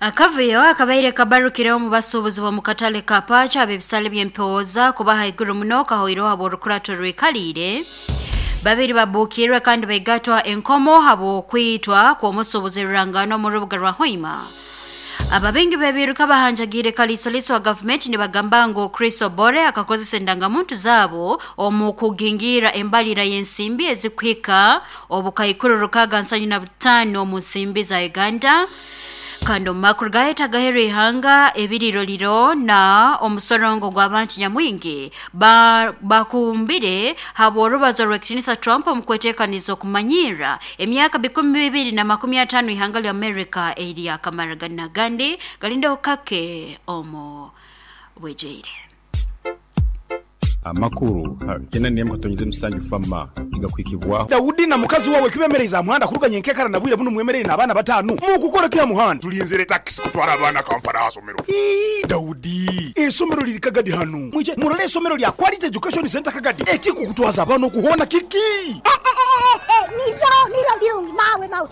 Akavuyo akabaire kabarukireho mu basuubuzi b'omu katale ka Paacho ab'ebisale by'empooza kuba haiguru muno kahoireho habw'orukurato rwikaliire. Babiri babuukirwe kandi baigatwa enkomo habw'okwitwa kw'omusuubuzi rurangano omu rubuga rwa Hoima. Ababingi b'ebiiruka bahanjagiire kaliisoliiso wa gavumenti nibagamba ngu Chris Obore akakozesa endangamuntu zaabo omu kugingiira embalira y'ensimbi ezikuhika obukaikuru 675 omu nsimbi za Uganda. Kandi omu makuru gaheta ihanga ebiriroliro na omusorongo gw'abantu nyamwingi bakumbire habw'orubazo rw'ekitinisa Trump omu kweteekaniza okumanyirra emyaka 2025 ihanga lya Amerika eryakamara gandi galindeho kake omu bwejwire. Amakuru kena nemu katonyize musanju fama igakwikibwaho. Daudi na mukazi wawe kibemereza muhanda kuruganya enkekara na bwire buno mwemerere n'abaana batanu mukukora kya muhanda. Tulinzire taxi kutwara abaana Kampala asomero. Daudi, esomero liri Kagadi hanu. Mwije murole esomero lya Quality Education Center Kagadi. Ekikukutwaza abaana okuhona kiki? Niryo birungi mawe mawe.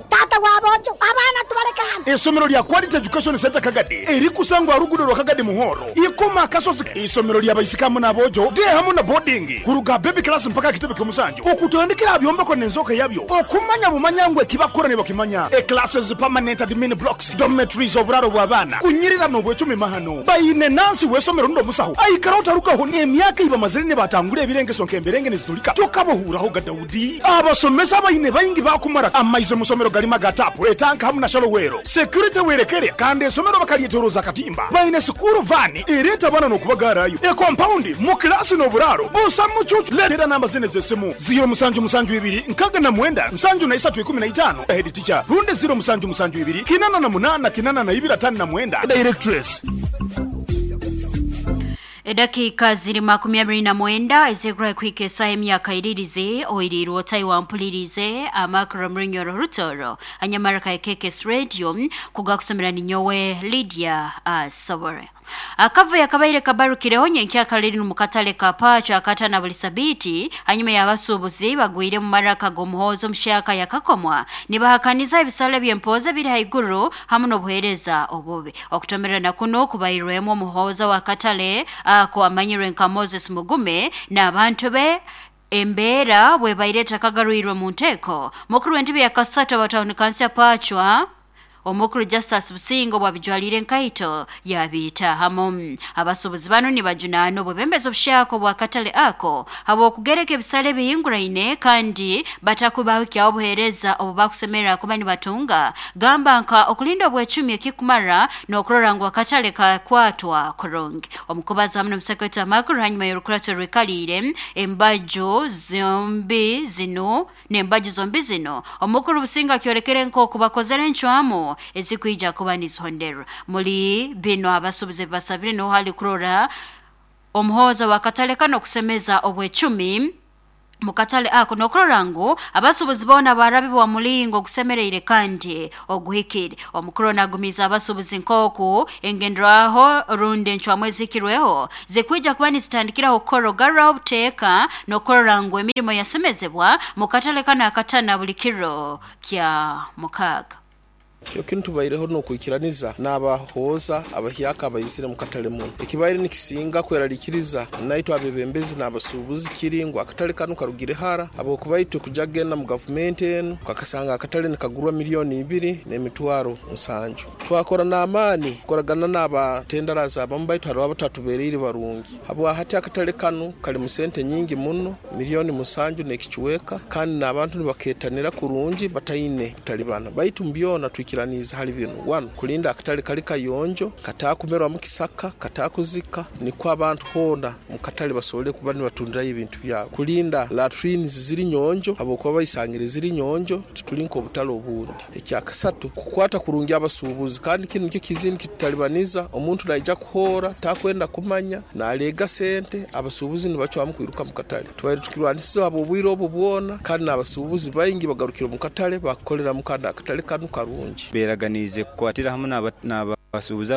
Tata wabojo abaana tubaleka hano. Esomero lya Quality Education Center Kagadi erikusangwa rugudo rwa Kagadi Muhoro. Ikoma akasozi isomero lya baisikamu n'abojo de hamu na boarding kuruga baby class mpaka kitebe ky'omusanju. Okutandikira byombeko n'enzoka yabyo. Okumanya bumanyangwe kibakora ne bakimanya. E classes permanent admin blocks, dormitories oburaro bw'abaana. Kunyirira n'obwecumi mahano. Bayine nansi w'esomero ndo musaho. Aikara utarukaho emyaka iba mazire ne batangura ebirengeso nk'emberenge nezitulika. Tokabohuraho ga Daudi. Abasomesa bayine bayingi bakumara amaize musomero galima gatapu etanka hamu na shalowero. Security werekere kandi esomero bakalietoroza katimba. Bayine sukuru vani ereta bana n'okubagarayo. E compound mu klasi n'oburaro. Busa mucucu letera namba zine z'essimu 0 musanju musanju ibiri nkaga na mwenda nsanju na isatu ikumi na itano. Head teacher runde 0 musanju musanju ibiri kinana na munana kinana na ibiri atano na mwenda. Directress. Edakika ziri 29 ezekura kwike saa emyaka iririze oirirwo Taiwan mpulirize amakuru mrinyoro rutoro anyamaraka KKS Radio kugakusomera ninyowe Lydia Sobore. Akavu yakabaire kabarukireho nyenkya kaliri mu katale ka Pacho akatana buli sabiti hanyuma y'abasuubuzi bagwire mu maraka g'omuhozo mushaka yakakomwa nibahakaniza ebisale by'empoza biri haiguru hamu n'obuheereza obubi. Okutomerana kuno kubairwemu omuhozo wa katale ako amanyirwe nka Moses Mugume n'abantu be embeera bwe baireta kagaruirwe mu nteeko. Mukuru w'entebe ya Kasata wa town council Pachwa omukuru Justus Busingo bwabijwalire nkaito yabita hamu. Abasuubuzi bano nibajunaana obubembezo obushako bwa katale ako habw'okugereka ebisale bihinguraine kandi batakubaho obuheereza obubakusemerera kuba nibatunga gamba nka okulinda obwecumi ekikumara n'okurora ngu akatale kakwatwa kurungi. Omukubaza hamu n'omusekretari amakuru hanyuma y'orukurato rwikaliire embaju zombi zino n'embaju zombi zino omukuru Busingo akyorekere nk'oku bakozere encwamu ezikwija kuba nizihonderwa. Muri bino abasuubuzi basabire no hali kurora omuhoza wa katale kano kusemeza obwecumi mukatale ako nokurora ngu abasuubuzi boona barabibwa mulingo gusemereire kandi oguhikire. Omukuru nagumiza abasuubuzi nk'oku engenderaho rundi encwamu ezihikirweho zikwija kuba nizitandikiraho kukorogarraho obuteeka n'okurora ngu emirimo yasemezebwa mukatale kano akatana buli kiro kya mukaaga. Kyo kintu baireho n'okwikiraniza n'abahoza abahyaka abayizire mu katale muno. Ekibaire nikisinga kweralikiriza naitwe abebembezi n'abasuubuzi kiringwa akatale kano karugire hara habwokuba itwe kuja kugenda mu gavumenti enu kakasanga akatale nikagurwa 2 700,000. Twakora n'amaani kukoragana n'abatendarazi abamu baitu hariho abatatubereire barungi. Habwa hati akatale kano kali mu sente nyingi muno 7 milioni n'ekichweka kandi n'abantu nibaketanira kurungi bataine kutalibana. Baitu mbyona twikiraniza hali bino 1 kulinda akatale kali kayonjo katakumerwa mu kisaka katakuzika nikwo abantu hona mu katale basobole kuba nibatundirayo ebintu byabo. Kulinda latrines ziri nyonjo habwokuba bayisangire ziri nyonjo titulinka obutale obundi. Ekyakasatu kukwata kurungi abasuubuzi kandi kinu nikyo kizindi kitutalibaniza omuntu naija kuhora takwenda kumanya nalega sente abasuubuzi nibacwamu kwiruka mu katale. Tubaire tukirwanisiza obwire obu bwona kandi n'abasuubuzi baingi bagarukira mu katale bakukolera mu kandi akatale kanu karungi. Beraganize kukwatira hamu n'abasuubuzi.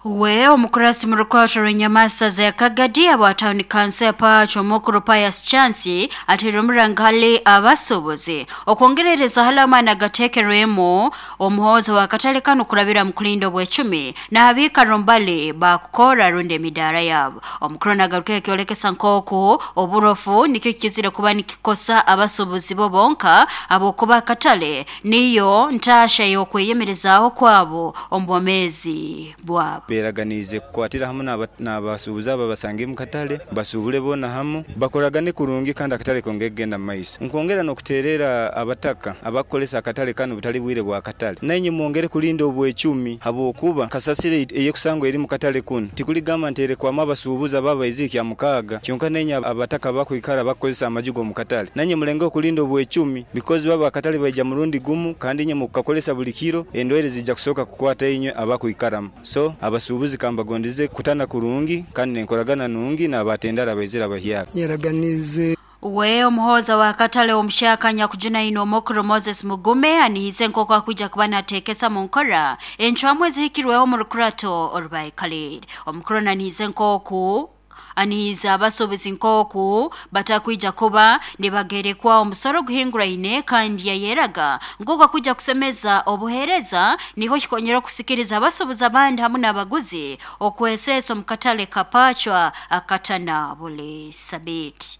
We omukurasi mu rukwatro rw'enyamasa za Kagadi aba town council Pacho Mukuru Pius Chance ateire omurangale abasobozi okwongerereza halama nagatekerwemo omuhoza wa katale kano kurabira mu kulinda obwecumi n'abiika rumbale bakukora rundi emidara yabo. Omukuru nagaruka kyolekesa nkoko oburofu nikyo kizire kuba nikikosa abasobozi bo bonka abokuba katale niyo ntasha y'okweyemerezaaho kwabo omu bwomezi bwabo. Beraganize kukwatira hamu n'abasuubuzi aba basange mu katale, basuubule boona hamu, bakoragane kurungi kandi akatale kongere kugenda mu maiso. Nkwongera n'okuteerera abataka abakukolesa akatale kanu butali bwire bwa katale, nainye mwongere kulinda obwecumi habwokuba kasasiro eyekusangwa eri mu katale kunu tikuligamba nti erekwamu abasuubuzi aba baizire kya mukaaga kyonka, nainye abataka bakwikara bakukozesa amaju g'omu katale, nainye mulenge okulinda obwecumi because baba akatale baija murundi gumu kandi inye mukukakolesa buli kiro, endwaire zijja kusooka kukwata inywe abakwikaramu. So abasuubuzi kambagondeze kutana kurungi kandi n'enkoragana nungi n'abatendara abaizire abahyaka. Yeraganize. We omuhoza wa katale omushaka nyakujuna ino omukuru Moses Mugume anihize nk'oku akwija kuba nateekesa mu nkora encwamu ezihikirweho mu rukurato orubaikaliire. Omukuru nanihize nk'oku anihiza abasuubuzi nk'oku batakwija kuba nibagerekwa omusoro guhinguraine, kandi yayeraga nk'oku akwija kusemeza obuheereza niho kikonyera okusikiriza abasuubuzi abandi hamu n'abaguzi okweseesa omu katale kapachwa akatana buli sabiti.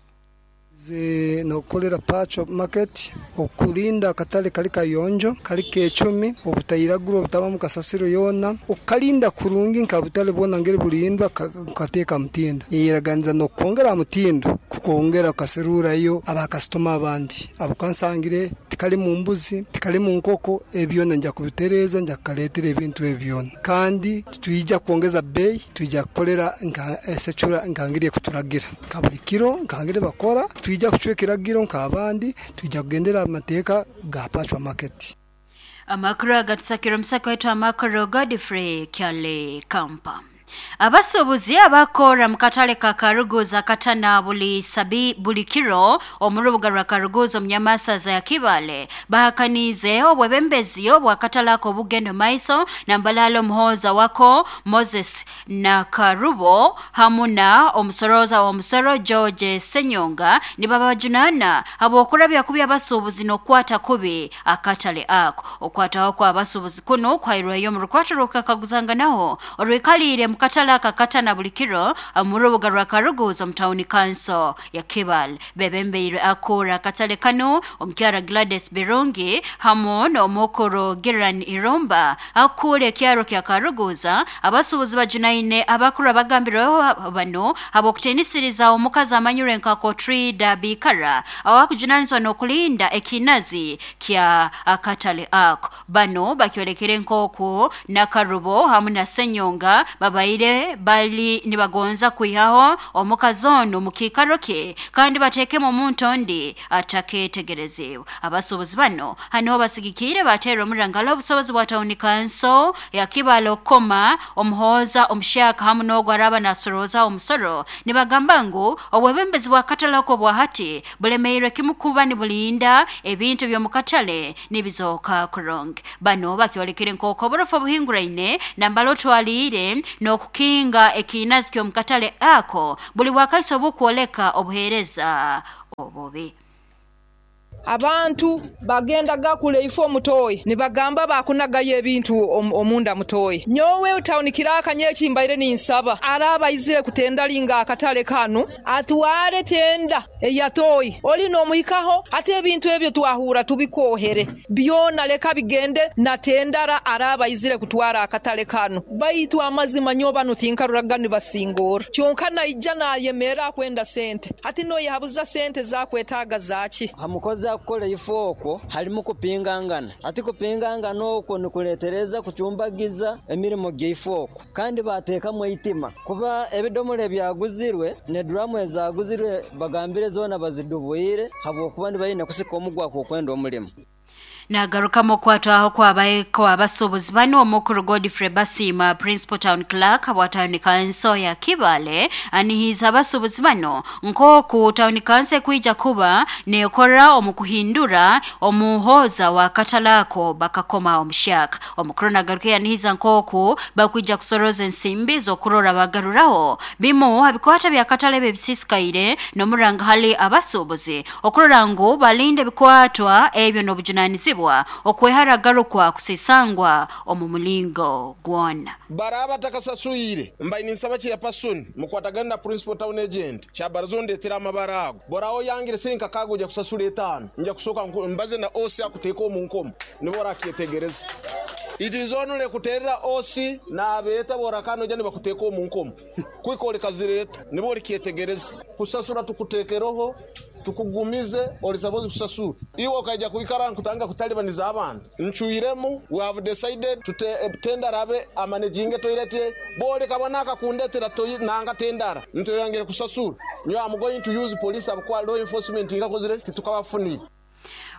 Ze nokukolera Pacho Market okulinda akatale kali kayonjo, kali kecumi, obutairagura, obutabamu kasasiro yoona, okukalinda kurungi nka butale bwona ngeri bulindwa, kukateeka mutindo. Yeraganiza n'okwongera ha mutindo kukwongera kukaserurayo abakasitoma abandi abukansangire tikalimu mbuzi, tikalimu nkoko, ebyona nja kubitereeza, nja kukaleetera ebintu ebyo byona, kandi titwija kwongeza bbeeyi, twija kukolera nka esecura nka ngeri ekuturagira nka buli kiro nka ngeri bakora, twija kucwa ekiragiro nk'abandi, twija kugendera amateeka ga Pachwa Market. Amakuru agatusakira omusaka wetu amakuru Godfrey Kyale Kampa. Abasuubuzi abakora mu katale ka Karuguza katana buli sabi buli kiro omu rubuga rwa Karuguza omu nyamasaza ya Kibale bahakaniize obwebembezi obwakatale ako obugendo maiso nambalala omuhoza wako Moses Nakarubo hamu na omusoroza w'omusoro George Senyonga nibabajunana habw'okurabya kubi abasuubuzi n'okukwata kubi akatale ako. Okwataho kwa abasuubuzi kuno kwairweyo omu rukwato rw'okukakaguzanganaho orwikaliire mu katale aka katana buli kiro mu rubuga rwa Karuguza mu tawuni kanso ya Kibale. Bebembeirwe akura akatale kano omukyara Gladys Birungi hamu n'omukuru Giran Irumba akura ekyaro kya Karuguza. Abasuubuzi bajunaine abakuru abagambirweho bano habw'okutiinisiriza omukazi amanyirwe nka Kotrida Bikara awakujunanizwa n'okulinda ekinazi kya akatale ako. Bano bakyolekere nk'oku Nakarubo hamu na Senyonga babaire bali nibagonza kwihaho omukazi ono mu kiikaro kye kandi bateekemu omuntu ondi atakeetegerezibwa. Abasuubuzi bano haniho basigikiire bateera omurangalo obusobozi bwa tawuni kanso ya Kibale okukoma omuhooza omushaka hamu n'ogwo araba nasorooza omusoro, nibagamba ngu obwebembezi bwa katale oko bwa hati bulemeirwe kimu kuba nibulinda ebintu by'omu katale nibizooka kurungi. Bano bakyolekere nk'oku oburofu obuhinguraine nambala otwaliire n'okukinga ekinazi ky'omu katale ako buli bwakaiso obukwoleka obuheereza obubi. Abantu bagendaga kule ifo omutoyi nibagamba bakunagayo ebintu omunda mutoyi. Nyowe tawuni kirakanye ekimbaire ninsaba araba aizire kutendalinga akatale kanu atware tenda eyatoyi oli n'omuhikaho, ate ebintu ebyo twahura tubikohere byona, leka bigende na tendara araba aizire kutwara akatale kanu. Baitu amazima nyo banu tinkaruraga nibasingora kyonka naija nayemera akwenda sente, ati noyabuza sente zakwetaaga zaki. Hamukozi akukola ifo okwo halimu kupingangana, ati kupingangana okwo nikuletereza kucumbagiza emirimu gyaifo okwo, kandi bateekamu eitima kuba ebidomora ebyaguzirwe neduramu ezaguzirwe bagambire zoona bazidubwire habwokuba nibaine kusika omugwako okwenda omulimu. Nagarukamu okwatwaho kw'abasuubuzi banu, omukuru Godfrey Basiima, Principal Town Clerk wa Town Council ya Kibaale, anihiiza abasuubuzi bano nk'oku Town Council ekwija kuba neekora omu kuhindura omuhooza wa katale ako bakakoma omuhyaka. Omukuru nagaruka yanihiiza nk'oku bakwija kusoroza ensimbi z'okurora bagaruraho bimu ha bikwata bya katale ebi ebisiisikaire n'omuranga hali abasuubuzi okurora ngu balinde ebikwatwa ebyo n'obujunaanizibwa okwehara garukwa kusisangwa omu mulingo gwona. Baraba batakasaswire, mbaire ninsaba chairperson mukwatagane na principal town agent kyabaraza ondetere amabara ago. Boraba oyangire siringi kakaaga oija kusasura etaano. Nja kusooka mbaze na OC akuteeke omu nkomo nibwo orakyetegereza. It is only kuterera OC nabeeta boraka noija nibakuteeka omu nkomo kuhika orikazireeta nibwo orikyetegereza. Kusasura tukuteekereho tukugumize ori supposed kusasura. Iwe okaija kwikara nkutandika kutalibaniza abantu. Ncwiremu, we have decided to tendara abe amanaginge toilet ye. Bw'oleka bwana akakundetera toi nanga tendara nti oyangire kusasura. Nyowe am going to use police ahabw'okuba law enforcement nkakozire titukabafunire.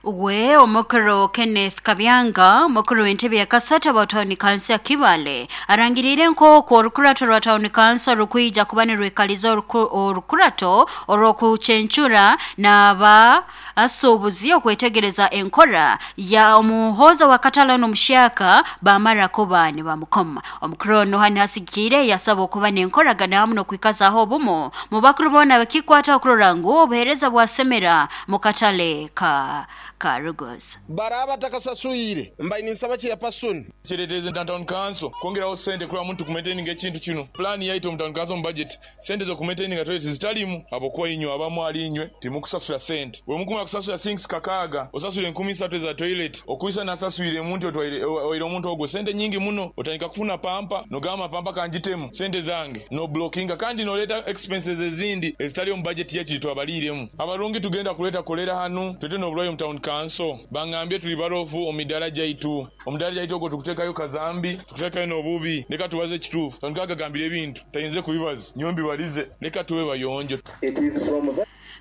We omukuru Kenneth Kabyanga, omukuru w'entebe ya kasatu aba Town Council ya Kibaale, arangiriire nk'oku orukurato rwa Town Council rukwija kuba nirwikaliza orukurato orw'okucencura n'aba asuubuzi okwetegereza enkora ya omuhooza wa katale n'omuhyaka bamara kuba nibamukoma. Omukuru onu hanu hasigikiire yasaba okuba n'enkoragana hamu n'okwikazaaho obumu mu bakuru boona bakikwata okurora ngu obuheereza bwasemera mu katale ka Karugoza. Baraba batakasaswire, mbaire ninsaba chairperson. Kireetereza Town Council kwongeraho sente kurora muntu kumaintaininga ekintu kinu. Pulaani yaitu omu Town Council omu budget, sente z'okumaintaininga toilet zitalimu habwokuba inywe abamu ahali inywe timukusasura sente. Bwemukumara kusasura sinks kakaaga, osasura enkumi isatu eza toilet, okwisa nasaswire omuntu otwaire owaire omuntu ogwo sente nyingi muno, otandika kufuna pampa nogamba pampa kangitemu sente zange, noblockinga kandi noleeta expenses ezindi ezitali omu budget yaitu gyetwabaliiremu. Abarungi tugenda kuleeta kolera hanu, twete n'oburwaire omu Town Council. Bangambye tuli barofu omu midaara gyaitu. Omudaara gyaitu ogwo tukuteekayo kazambi, tukuteekayo n'obubi. Leka tubaze ekituufu. Tandika agagambire ebintu tayinze kubibaza, nyowe mbibalize. Leka tube bayonjo.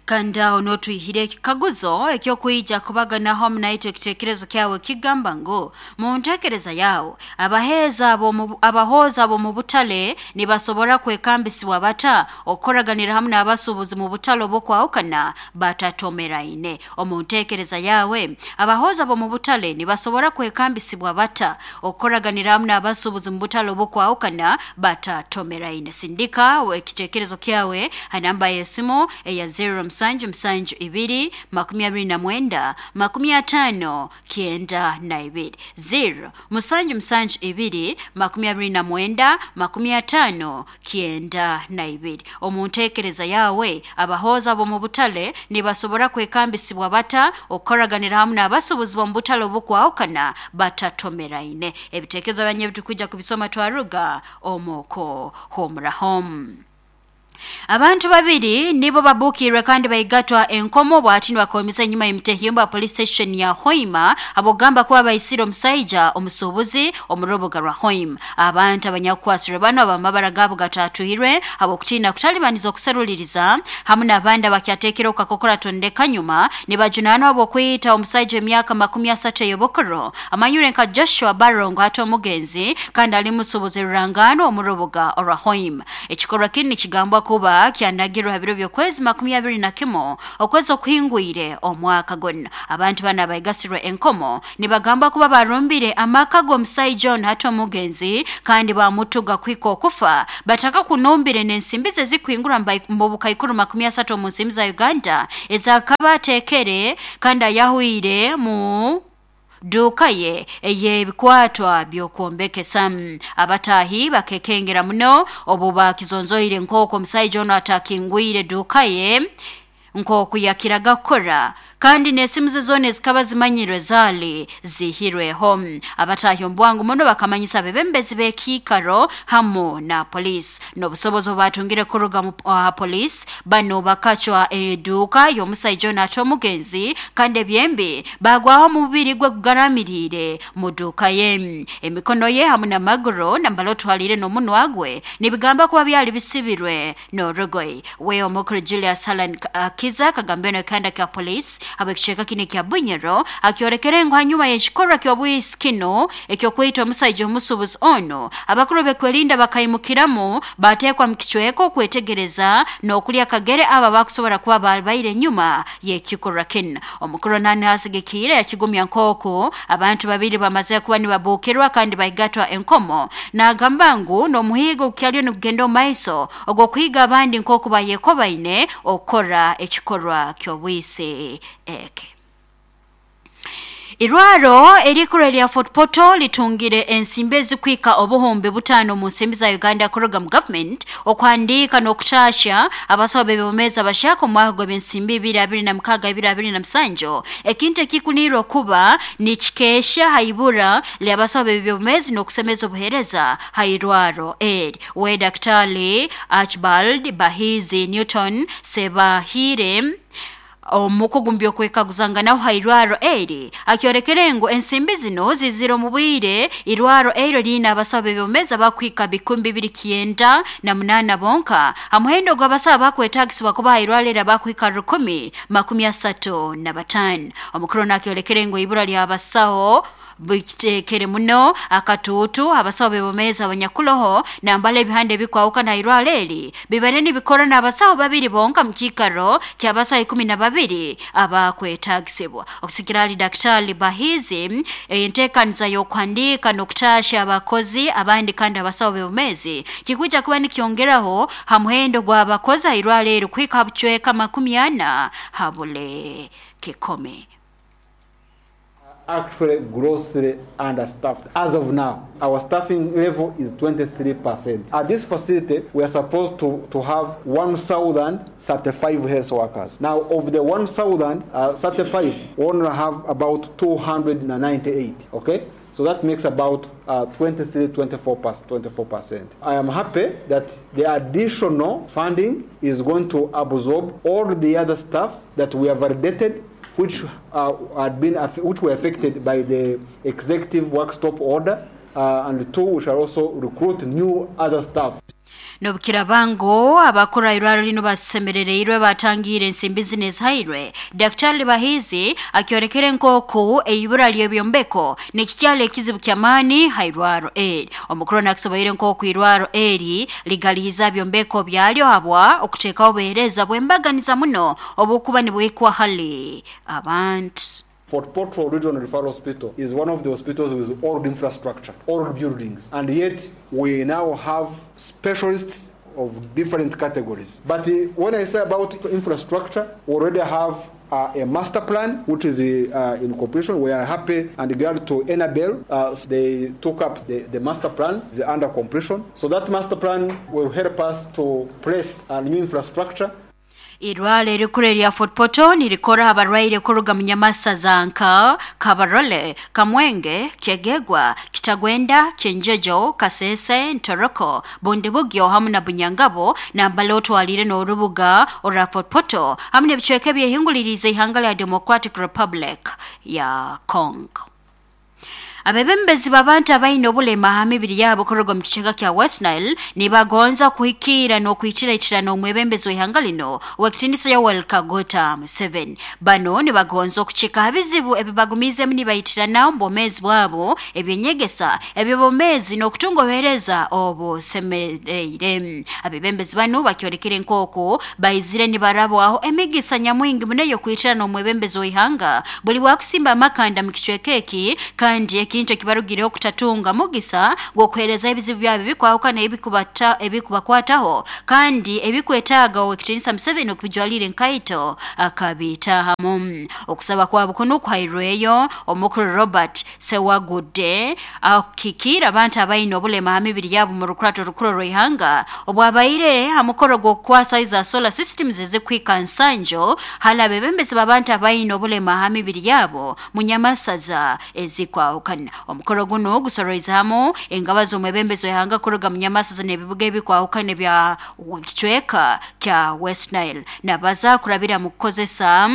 Kandi aho n'otwihire ekikaguzo eky'okwija kubaganaho hamu naitwe ekitekerezo kyawe kigamba ngu mu ntekereza yawe abaheeza abahooza ab'omu butale nibasobora kwekambisibwa bata okukoraganira hamu n'abasuubuzi mu butale obw'okwahukana batatomeraine? Omu ntekereza yawe abahooza ab'omu butale nibasobora kwekambisibwa bata okukoraganira hamu n'abasuubuzi mu butale obw'okwahukana batatomeraine? Sindika ekitekerezo kyawe ha namba y'esimu eya 0 musanju musanju ibiri makumi abiri na mwenda makumi ataano kyenda na ibiri, 0 musanju musanju ibiri makumi abiri na mwenda makumi ataano kyenda na ibiri. Omu ntekereza yawe abahooza ab'omu butale nibasobora kwekambisibwa bata okukoraganira hamu n'abasuubuzi b'omu butale obukwahukana batatomeraine? Ebitekerezo byanyu ebitukwija kubisoma twaruga omuko homurahomu. Abantu babiri nibo babukiirwe kandi baigatwa enkomo bwati nibakomesa enyuma y'emitehimbo ya police station ya Hoima abogamba kuba baisire omusaija omusuubuzi omu rubuga rwa Hoima. Abantu abanyakukwasirwe bano abamabara gaabo gatatuhirwe habw'okutiina kutalibaniza okuseruliriza hamu n'abandi abakyateekere okukakokora tondeka nyuma nibajunaanwa habw'okwita omusaija w'emyaka 30 ey'obukuru amanyire nka Joshua Barongo hati omugenzi kandi ali musuubuzi rurangaanwa omu rubuga orwa Hoima. Ekikorwa kinu nikigambwa kuba kyanagirwe ha biro by'okwezi 21 okwezi okuhingwire omwaka guno. Abantu bano abaigasirwe enkomo nibagamba kuba barumbire amaka g'omusaija ono hati omugenzi kandi bamutuga kuhika okufa bataka kunumbire n'ensimbi ze zikuhingura mu bukaikuru 30 omu nsimbi za Uganda ezakaba ateekere kandi ayahwire mu duuka ye ey'ebikwatwa by'okwombekesa. Abataahi bakekengera muno obu bakizonzoire nk'oku omusaija ono atakingwire duuka ye nk'oku yakiraga kukora kandi n'esimu ze zoona ezikaba zimanyirwe zaali zihirweho. Abataahi omu bwangu muno bakamanyisa abebembezi b'ekiikaro hamu na poliisi. N'obusobozi obu baatungire kuruga mu poliisi, bano bakacwa eduuka y'omusaija ono ate omugenzi kandi ebyembi baagwaho omubiri gwe gugaramiriire mu duuka ye. Emikono ye hamu n'amaguru nambala otwaliire n'omunwa gwe nibigamba kuba byali bisibirwe n'orugoye. We omukuru Julius Allan Kiza akagambira n'ekihanda kya poliisi Habw'ekicweka kinu ekya Bunyoro akyorekere ngu hanyuma y'ekikorwa ky'obwisi kinu eky'okwita omusaija omusuubuzi ono, abakuru b'ekwerinda bakaimukiramu bateekwa mu kicweka okwetegereza n'okulya akagere abo abakusobora kuba babaire enyuma y'ekikorwa kinu. Omukuru nani asigikiire yakigumya nk'oku abantu babiri bamaze kuba nibabuukirwa kandi baigatwa enkomo, n'agamba ngu n'omuhiigo gukyaliyo nigugenda omu maiso ogw'okuhiiga abandi nk'oku bayekobaine okukora ekikorwa ky'obwisi eki. Irwaro erikuru erya Fort Portal litungire ensimbi ezikwika 5000 mu nsimbi za Uganda kuruga mu government okuhandiika n'okutasha abasawo b'ebyomezi abashaka omwaka gw'ebyensimbi 2026-2027, ekintu ekikunirwe kuba nikikesha haibura ly'abasawo b'ebyomezi n'okusemeza obuheereza hairwaro eri. We Daktari Archibald Bahizi Newton Sebahire omukugu mu by'okwekaguzanganaho ha irwaro eri akyorekere ngu ensimbi zino zizire omu bwire irwaro eryo liine abasawo b'ebyomezi abakuhika 298 bonka ha muhendo gw'abasawo abakwetagisibwa kuba ha irwaro eri abakuhika 1035. Omukuru nakyorekere ngu ibura ly'abasawo bikitekere muno akatuutu abasawo b'ebyomezi abanyakuloho nambala ebihanda ebikwahukana ha irwaro eri bibaire nibikora n'abasawo babiri bonka mu kiikaro ky'abasawo 12 abakwetagisibwa. Okusikira hali Daktari Bahizi, enteekaniza y'okuhandiika n'okutasha abakozi abandi kandi abasawo b'ebyomezi kikwija kuba nikyongeraho ha muhendo gw'abakozi ha irwaro eri kuhika ha bucweka 40 ha buli kikumi. Actually grossly understaffed. As of now, our staffing level is 23%. At this facility, we are supposed to have 1,035 health workers. Now, of the 1,035, we only have about 298, okay? So that makes about 23, 24%. I am happy that the additional funding is going to absorb all the other staff that we have validated, which which were affected by the executive work stop order, and two, we shall also recruit new other staff. Nobukirabango abakora irwaro lino basemerereirwe batangiire ensimbi zino ezihairwe. Daktari Bahizi akyorekere nk'oku eibura ly'ebyombeko nikikyala ekizibu ky'amaani ha irwaro eri. Omukuru nakisoboire nk'oku irwaro eri ligalihiza byombeko byalyo habwa okuteekaho obuheereza bw'embaganiza muno obukuba nibwikwa hali abantu. Fort Portal Regional Referral Hospital is one of the hospitals with old infrastructure, old buildings, and yet we now have specialists of different categories. But when I say about infrastructure, we already have a master plan, which is in completion. We are happy and glad to Enabel. They took up the master plan, is under completion. So that master plan will help us to place a new infrastructure. Irwaro erikuru erya Fort Portal nirikora abarwaire kuruga mu nyamasa za nka Kabarole, Kamwenge, Kyegegwa, Kitagwenda, Kyenjojo, Kasese, Ntoroko, Bundibugyo hamu na Bunyangabo, nambala otwalire n'orubuga orwa Fort Portal hamu n'ebicweka ebyehinguliriize ihanga lya Democratic Republic ya Congo. Abebembezi b'abantu abaine obulema ha mibiri yabo kuruga mu kicweka kya West Nile nibagonza kuhikiira n'okwikiraikirana omwebembezi w'ihanga lino ow'ekitiinisa Yoweri Kaguta Museveni. Bano nibagonza okucika ha bizibu ebibagumiizemu nibaitirana omu bwomeezi bwabo, ebyenyegesa, eby'obwomeezi n'okutunga obuheereza obusemereire. Abebembezi bano bakyorekere nk'oku baizire nibarabwaho emigisa nyamwingi muno ey'okwitirana omwebembezi w'ihanga buli wakusimba amakanda mu kicweka eki, kandi ekintu ekibarugireho kutatunga mugisa gw'okuheereza ebizibu byabo ebikwahukana ebikubakwataho kandi ebikwetaaga ow'ekitiinisa Museveni okubijwalira enkaito akabitahamu. Okusaba kwabo kuno kuhairweyo omukuru Robert Sewagudde akikiira abantu abaine obulema ha mibiri yabo mu rukurato rukuru rw'ihanga obwabaire ha mukoro gw'okukwasa za solar systems ezikuhika nsanjo hali abebembezi b'abantu abaine obulema ha mibiri yabo mu nyamasaza ezikwahukana. Omukoro guno gusoroize hamu engaba z'omwebembezi w'ihanga kuruga mu nyamasaza n'ebibuga ebikwahukana bya kicweka kya West Nile nabaza kurabira mu kukozesa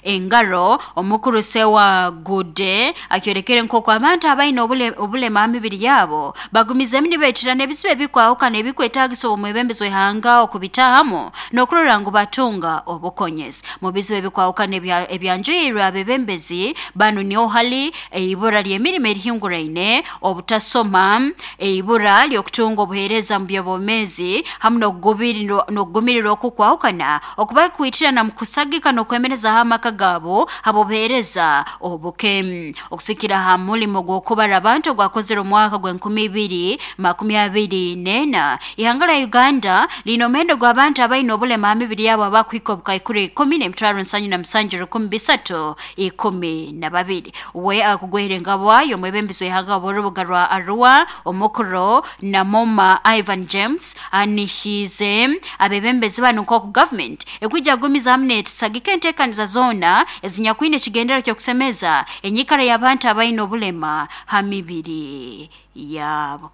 Engaro omukuru Sewagude akyolekere nk'oku abantu abaine obulema ha mibiri yabo bagumizemu nibeetirana ebizibu ebikwahukana ebikwetaagisa omwebembezi w'ihanga okubitahamu n'okurora ngu batunga obukonyezi. Mu bizibu ebikwahukana ebyanjwirwe abebembezi banu niho hali eibura ly'emirimo erihinguraine, obutasoma, eibura ly'okutunga obuheereza mu by'obwomeezi hamu n'okugumirirwa okukwahukana okubakwitirana mu kusagika n'okwemerezaaho amaka gaabo habw'obuheereza obuke. Okusikira ha mulimo gw'okubara abantu ogwakozere omwaka gw'enkumi ibiri makumi abiri n'ena, ihanga lya Uganda liine omuhendo gw'abantu abaine obulema ha mibiri yabo abakuhika obukaikuru ikumi n'emitwaro nsanju na musanju rukumi bisatu ikumi na babiri. We akugwera engabwa y'omwebembezi w'ihanga w'orubuga rwa Arua omukuru Namoma Ivan James anihiize abebembezi banu nk'oku gavumenti ekwija kugumizamu neetusagika enteekaniza zoona ezinyakwine ekigendererwa ky'okusemeza enyikara y'abantu abaine obulema ha mibiri yabo.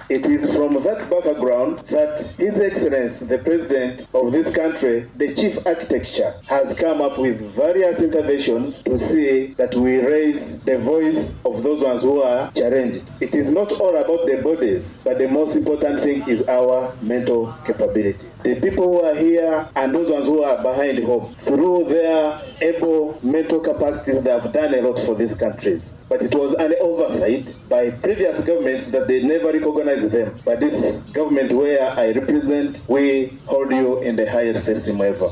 It is from that background that His Excellency the President of this country, the Chief Architecture, has come up with various interventions to see that we raise the voice of those ones who are challenged. It is not all about the bodies, but the most important thing is our mental capability. The people who are here and those ones who are behind home, through their able mental capacities, they have done a lot for these countries. But it was an oversight by previous governments that they never recognized them. But this government where I represent, we hold you in the highest esteem ever.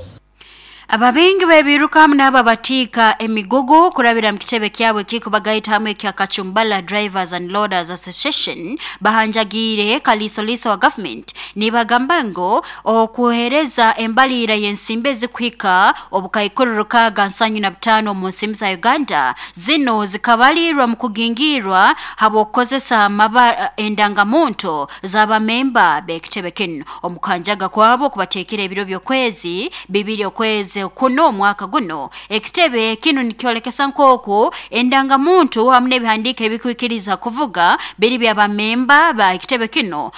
Ababingi b'ebiruka hamu n'abo abatiika emigugu kurabira mu kitebe kyabo ekikubagaita hamwe ekya Kachumbala Drivers and Loaders Association bahanjagiire kaliisoliiso wa gavumenti nibagamba ngu okuheereza embaliira y'ensimbi ezikuhika obukaikuru rukaaga nsanju na butaano omu nsimbi za Uganda zinu zikabaliirwa mu kugingirwa habw'okukozesa endangamuntu z'abamemba b'ekitebe kinu. Omu kuhanjaga kwabo kubateekera ebiro by'okwezi bibiri okwezi kuno omwaka guno ekitebe kinu nikyolekesa nk'oku endangamuntu hamu n'ebihandiiko ebikwikiriza kuvuga biri by'abamemba ba ekitebe kino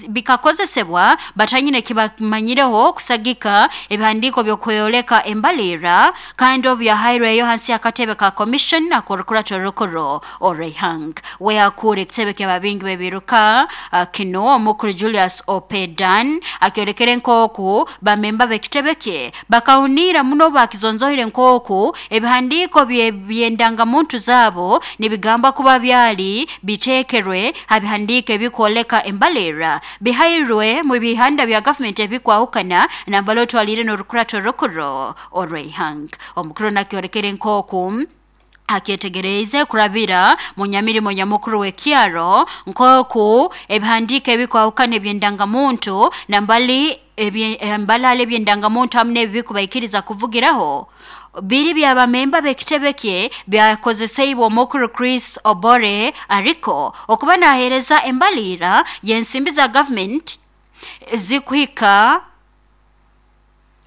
bikakozesebwa batanyine kibamanyireho kusagika ebihandiiko by'okweyoleka embaliira kandi obu byahairweyo hansi y'akatebe ka commission ak'orukurato orukuru orw'ihanga. We akuura ekitebe ky'ababingi b'ebiruka kino omukuru Julius Opedan akyolekere nk'oku bamemba b'ekitebe kye bakahuniira muno bakizonzoire nk'oku ebihandiiko by'endangamuntu zaabo nibigamba kuba byali biteekerwe ha bihandiiko ebikwoleka embaliira bihairwe mu bihanda bya gavumenti ebikwahukana nambala otwaliire n'orukurato orukuru orw'ihanga. Omukuru nakyolekere nk'oku akyetegereize kurabira mu nyamirimo nyamukuru w'ekyaro nk'oku ebihandiiko ebikwahukana eby'endangamuntu nambali embalala eby'endangamuntu hamu n'ebi bikubaikiriza kuvugiraho biri by'abamemba b'ekitebe kye byakozeseibwe omukuru Chris Obore ariko okuba naheereza embaliira y'ensimbi za gavumenti zikuhika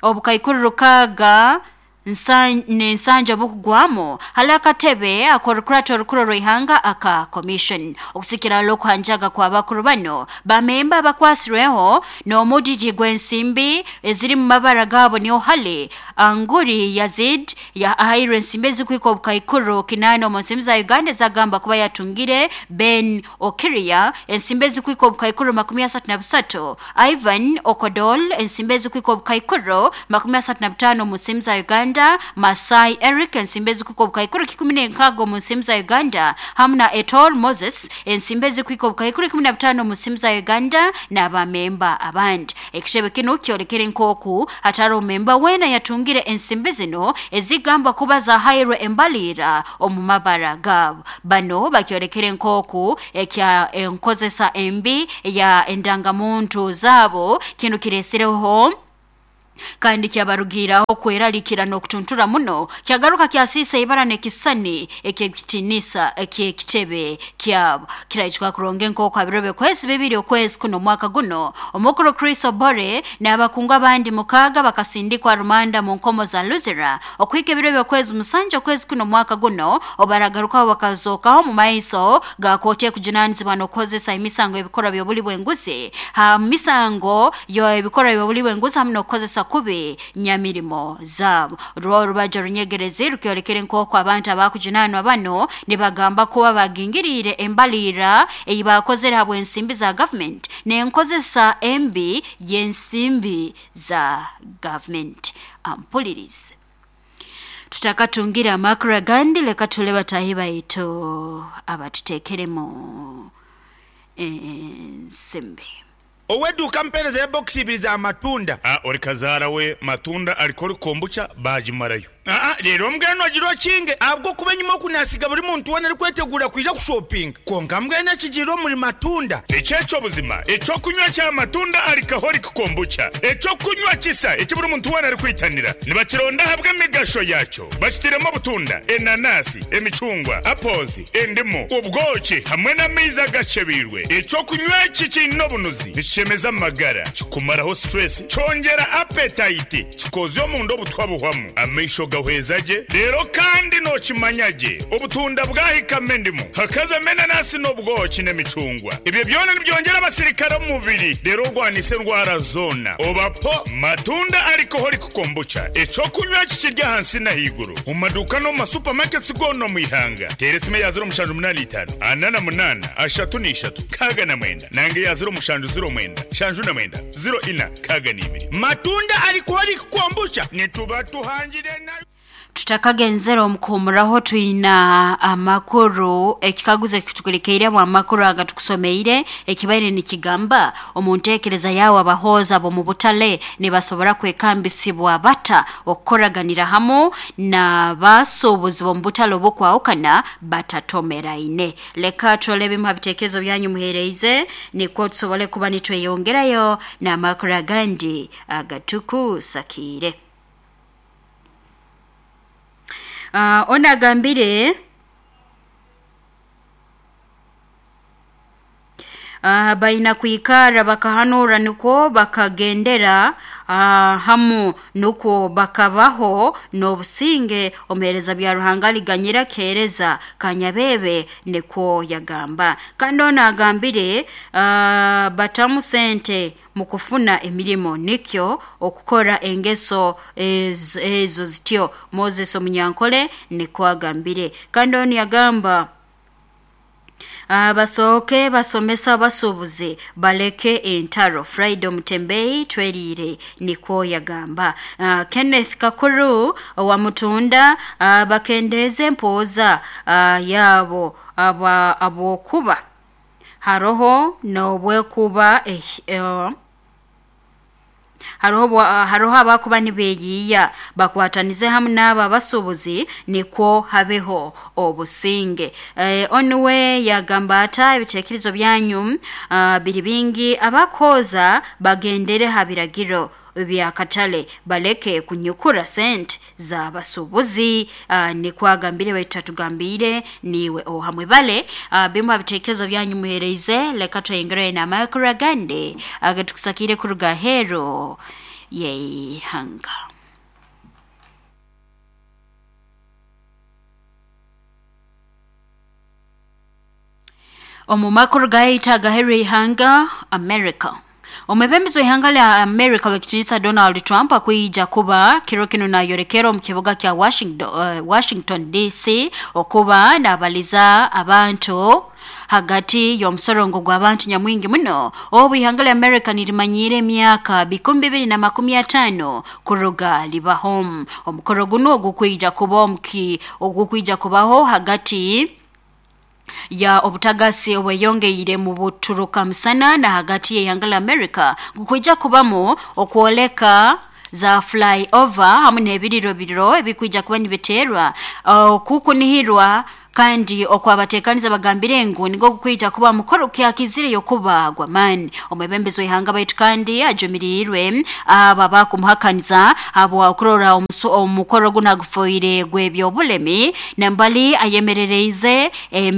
obukaikuru rukaaga n'ensanja obukugwamu hali akatebe ak'orukurato orukuru orw'ihanga aka commission. Okusikira okuhanjaga kw'abakuru bano bamemba abakwasirweho n'omujiji gw'ensimbi eziri mu mabara gaabo niho hali Anguri Yazid ahairwe ensimbi ezikuhika obukaikuru kinaana omu nsimbi za Uganda ezagamba kuba yatungire, Ben Okiria ensimbi ezikuhika obukaikuru makumi asatu na busatu, Ivan Okodol ensimbi ezikuhika obukaikuru makumi asatu na butaano omu nsimbi za Uganda, Masai Eric ensimbi ezikuhika obukaikuru kikumi n'enkaaga omu nsimbi za Uganda hamu na Etol Moses ensimbi ezikuhika obukaikuru ikumi na butaano omu nsimbi za Uganda n'abamemba abandi. Ekitebe kinu kyolekere nk'oku hatari omemba weena yatungire ensimbi zino ezigamba kuba zahairwe embaliira omu mabara gaabo. Bano bakyolekere nk'oku ekya enkozesa embi ya endangamuntu zaabo kinu kiresireho kandi kyabarugiiraho kweraliikira n'okutuntura muno kyagaruka kyasiisa ibara n'ekisani eky'ekitiinisa eky'ekitebe kyabo. Kiraitwa kuronga nk'oku ha biro by'okwezi bibiri okwezi kuno omwaka guno omukuru Chris Obore n'abakungu abandi mukaaga bakasindikwa rumanda mu nkomo za Luzira okuhika ebiro by'okwezi musanju okwezi kuno omwaka guno obaragarukaho bakazookaho mu maiso ga kooti ekujunaanizibwa n'okukozesa emisango ebikorwa by'obuli bw'enguzi ha misango y'ebikorwa by'obuli bw'enguzi hamu n'okukozesa kubi nyamirimo zaabo. Rwo orubajo runyegerezi rukyolekere nk'oku abantu abakujunaanwa bano nibagamba kuba bagingiriire embalirira ei baakozere habw'ensimbi za gavumenti n'enkozesa embi y'ensimbi za gavumenti. Ampulirize. Tutakatungire amakuru agandi leka tule bataahi baitu abatuteekeremu ensimbi. Ow'edduuka mpeereza ya bokisi ibiri za matunda. A Ori kazaara we matunda arikora kombucha baagimarayo. Aa Reero mbwenu ogira okinge ahabw'okuba enyima oku naasiga buri muntu weena arikweteguura kwija kushopinga. Kwonka mbwenu ekigiire omuri matunda. Eki eky'obuzima, eky'okunywa kya matunda alcoholic kombucha, eky'okunywa kisa eki buri muntu weena arikwitanira. Nibakironda ahabw'emigasho yaakyo. Bakitairemu obutunda, enanasi, emicungwa, apples, endimu, obwoki hamwe n'amaizi agakyebeirwe. Eky'okunywa eki kiine obunuzi, nikishemeza amagara, kikumaraho stress, kyongyera appetite, kikoozya omunda obutwa buhwamu, amaisho gahweza gye, reero kandi nookimanya gye obutunda bwahikamu endimu, hakazamu enanasi n'obwoki n'emicungwa. Ebyo byona nibyongyera abasirikare omu mubiri reero orwanise endwara zoona. Oba po Matunda Alcoholic Kombucha, eky'okunywa eki kiri ahansi n'ahaiguru omu maduuka n'omu ma supermarkets goona omu ihanga. Teera esimu eya 0785 48 33 69 nanga eya 0709 79 04 62. Matunda Alcoholic Kombucha nituba tuhangire na. Tutakagenzere omu kuhumuraho twina amakuru ekikaguzo ekitukulekeiremu amakuru aga tukusomeire ekibaire nikigamba omu nteekereza yaawe abahooza b'omu butale nibasobora kwekambisibwa bata okukoraganira hamu n'abasuubuzi b'omu butale obukwahukana batatomeraine. Leka turole ebimu ha biteekerezo byanyu muheereize nikwo tusobole kuba nitweyongerayo n'amakuru agandi agatukusakiire. Onu agambire baina kwikara bakahanura nukwo bakagendera hamu nukwo bakabaho n'obusinge. Omuheereza bya Ruhanga aliganyira keereza Kanyabebe nikwo yagamba. Kandi onu agambire batamu sente mu kufuna emirimo nikyo okukora engeso ezo zityo. Moses Omunyankole nikwo agambire. Kandi onu yagamba basooke basomesa abasuubuzi baleke entaro. Friday Omutembeyi tweriire nikwo yagamba. Kenneth Kakuru owa Mutunda bakendeeze empooza yaabo habwokuba haroho n'obwekuba haroho abakuba nibeeyiiya bakwatanize hamu n'abo abasuubuzi nikwo habeho obusinge. Onu we yagamba ata ebiteekerezo byanyu biri bingi abakooza bagendere ha biragiro by'akatale baleke kunyukura sente z'abasuubuzi. Nikwo agambire baitu tatugambiire niiwe ohamwe bale. Bimu ha biteekerezo byanyu muheereize leka tweyongereyo n'amakuru agandi agatukusakiire kuruga aheeru y'eihanga. Omu makuru gaitu agaheeru y'eihanga America. Omwebembezi w'ihanga lya America w'ekitiinisa Donald Trump akwija kuba kiro kinu nayorekera omu kibuga kya Washington DC okuba naabaliza abantu hagati y'omusorongo gw'abantu nyamwingi muno obu ihanga lya America nirimanyiire emyaka 2050 kuruga libaho. Omukoro gunu ogukwija kubaho hagati ya obutagasi obweyongeire mu buturuka musana na hagati y'ihanga lya America gukwija kubamu okwoleka za flyover hamu n'ebiriro biro ebikwija kuba nibiteerwa okukunihirwa kandi okwabateekaniza bagambire ngu nigwo gukwija kuba mukoro kyakizireyo kuba gw'amaani. Omwebembezi w'ihanga baitu kandi ajumiriirwe abo abakumuhakaniza habw'okurora omukoro gunu agufoire gw'ebyobulemi nambali ayemerereize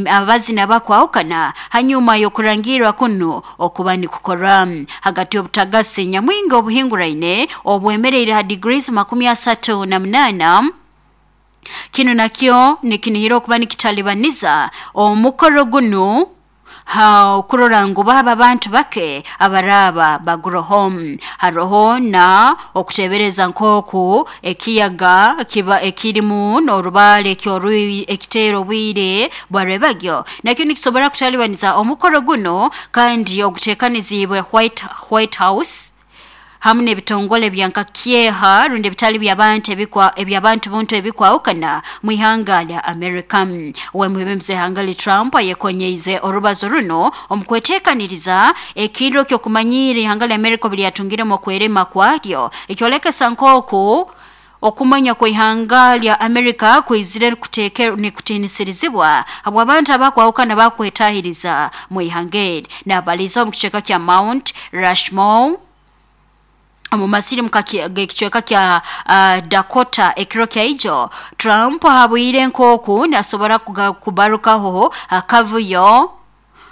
abazina bakwahukana hanyuma y'okurangirwa kuno okuba nikukorwa hagati y'obutagasi nyamwingi obuhinguraine obwemereire ha degrees 38. Kinu nakyo nikinihira okuba nikitalibaniza omukoro gunu ha kurora ngu baaba bantu bake abaraaba baguroho. Haroho na okutebereza nk'oku ekiyaga kiba ekirimu n'orubaale ekiteera obwire bwa rwebagyo nakyo nikisobora kutalibaniza omukoro guno kandi oguteekaniziibwe White House hamu n'ebitongole bya nka kyeha rundi ebitali by'abantu ebikwa eby'abantu buntu ebikwahukana mu ihanga lya America. Ow'emwebembezi w'ihanga lya Trump ayekonyeize orubazo runo omu kweteekaniriza ekiro ky'okumanyiira ihanga lya America obu lyatungiremu okwerema kwaryo, ekyolekesa nk'oku okumanya kw'ihanga lya America kwizire nikutiinisirizibwa habw'abantu abakwahukana bakwetahiriza mu ihanga eri. Naabaliza omu kicweka kya Mount Rushmore omu masirimu g'ekicweka kya Dakota ekiro kya ijo, Trump ahabwire nk'oku nasobora kubarukaho akavuyo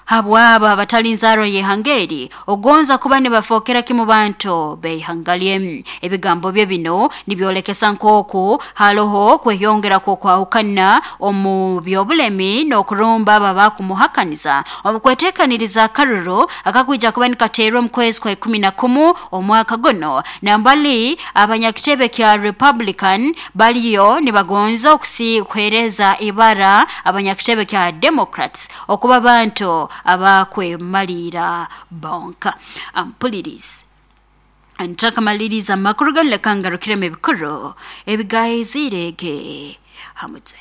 habwabo abatali nzaarwa y'ihanga eri ogonza kuba nibafookera kimu bantu b'ihanga lye. Ebigambo bye bino nibyolekesa nk'oku haroho kweyongera kw'okwahukana omu by'obulemi n'okurumba abo abakumuhakaniza omu kweteekaniriza akaruru akakwija kuba nikateerwa omu kwezi kwa 11 omwaka guno. Nambali abanyakitebe kya Republican baliyo nibagonza kuheereza ibara abanyakitebe kya Democrats okuba bantu abakwemaliira bonka. Ampulirizi ntakamaliriza amakuru ganu, leka ngarukiremu ebikuru ebigaizirege hamutse.